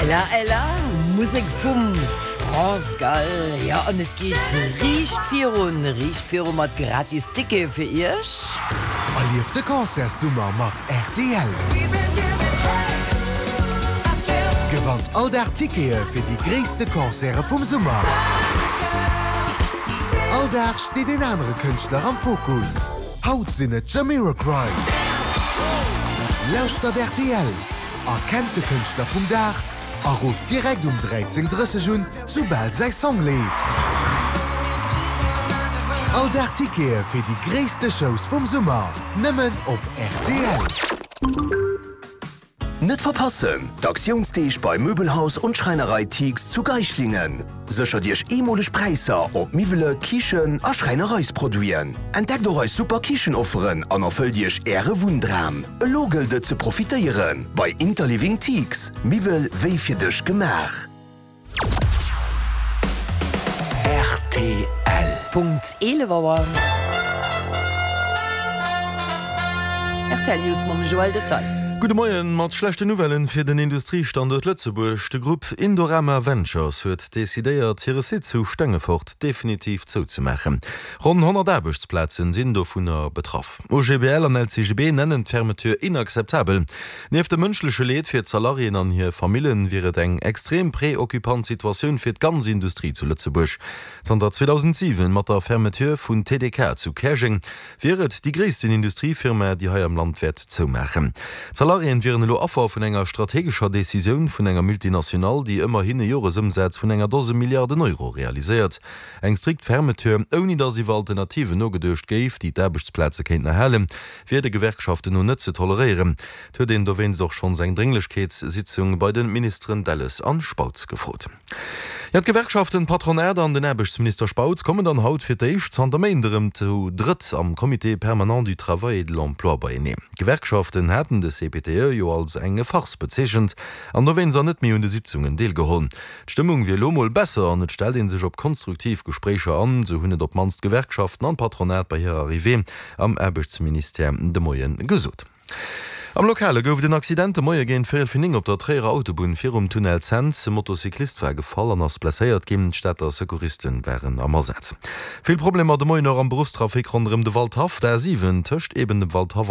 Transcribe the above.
Ella Ella, Musek vum France Gall. Jo, an et geet riicht virun, riicht viru mat gratis Tickete fir Iech. Erlieft de Concertssummer mat rtl! Gewannt all Dag Tickete fir déi gréisste Concerte vum Summer. All Dag steet een anere Kënschtler am Fokus. Haut sinn et Jamiroquai. Lauschtert rtl, erkennt de Kënschtler vum Dag a rufft direkt um 13:30 un, soubal säi Song leeft. All Dag Tickete fir déi gréisste Shows vum Summer, nëmmen op rtl. Net verpassen, D'Aktiounsdeeg bei Möbelhaus und Schreinerei Thiegs zu Geislingen. Séchert Iech eemoleg Präisser op Miwwele, Kichen a Schräinereisproduiten. Entdeckt och eis super Kichenofferen an erfëllt Iech Äre Wunndram. Elo gëllt et ze profitéieren bei Interliving Thiegs, Miwwel wéi fir dech gemaach. Rtl. Punkt 11 Auer. Rtl News mam Joël Detail. Gudde Moien. Mat schlechten Nouvellen fir den Industriestanduert Lëtzebuerg. De Grupp Indorama Ventures huet decidéiert, hire Site zu Stengefort definitiv zouzemaachen. Ronn 100 Aarbechtsplazen sinn dovunner betraff. OGBL an LCGB nennen d'Fermeture inakzeptabel. Nieft dem mënschleche Leed fir d'Salariéen an hir Famillen, wier et eng extrem preoccupant Situatioun fir d'ganz Industrie zu Lëtzebuerg. Zanter 2007, mat der Fermeture vun TDK zu Käerjeng, wier et déi gréissten Industriefirma, déi hei am Land wäert zoumaachen. D'Salariéen wieren elo Affer vun enger strategescher Decisioun vun enger Multinationale, déi ëmmerhin e Joresëmsaz vun enger Dose Milliarden Euro realiséiert. Eng strikt Fermeture, ouni datt iwwer Alternativen nogeduecht géif, déi d'Aarbechtsplaze kéinten erhalen, wier de Gewerkschaften no net ze toleréieren. Et huet een dowéinst och schonns eng Drénglechkeetssitzung bei de Ministeren Delles an Spautz gefrot. Jo, d'Gewerkschaften, d'Patronat an den Aarbechtsminister Spautz kommen dann haut fir d'éischt zanter Méint erëm zu drëtt am Comité permanent du travail et de l'emploi beieneen. D'Gewerkschaften haten de CPTE jo als eng Farce bezeechent an dowéinst an net méi un de Sitzungen deelgeholl. D'Stëmmung wier elo mol besser an et stellt ee sech op konstruktiv Gespréicher an, sou hunn et op d'mannst d'Gewerkschaften an d'Patronat bei hirer Arrivée am Aarbechtsministère de Moie gesot. Am Lokale gouf et en Accident de Moie géint véierel fir 9 op der Tréierer Autobunn virum Tunnel Cents. E Motocyclist war gefall an ass blesséiert ginn. D'Stater Secouristen waren am Asaz. Vill Problemer de Moien och am Beruffstrafic ronderëm de Waldhaff, d'A 7 tëscht eben dem Waldhaff a.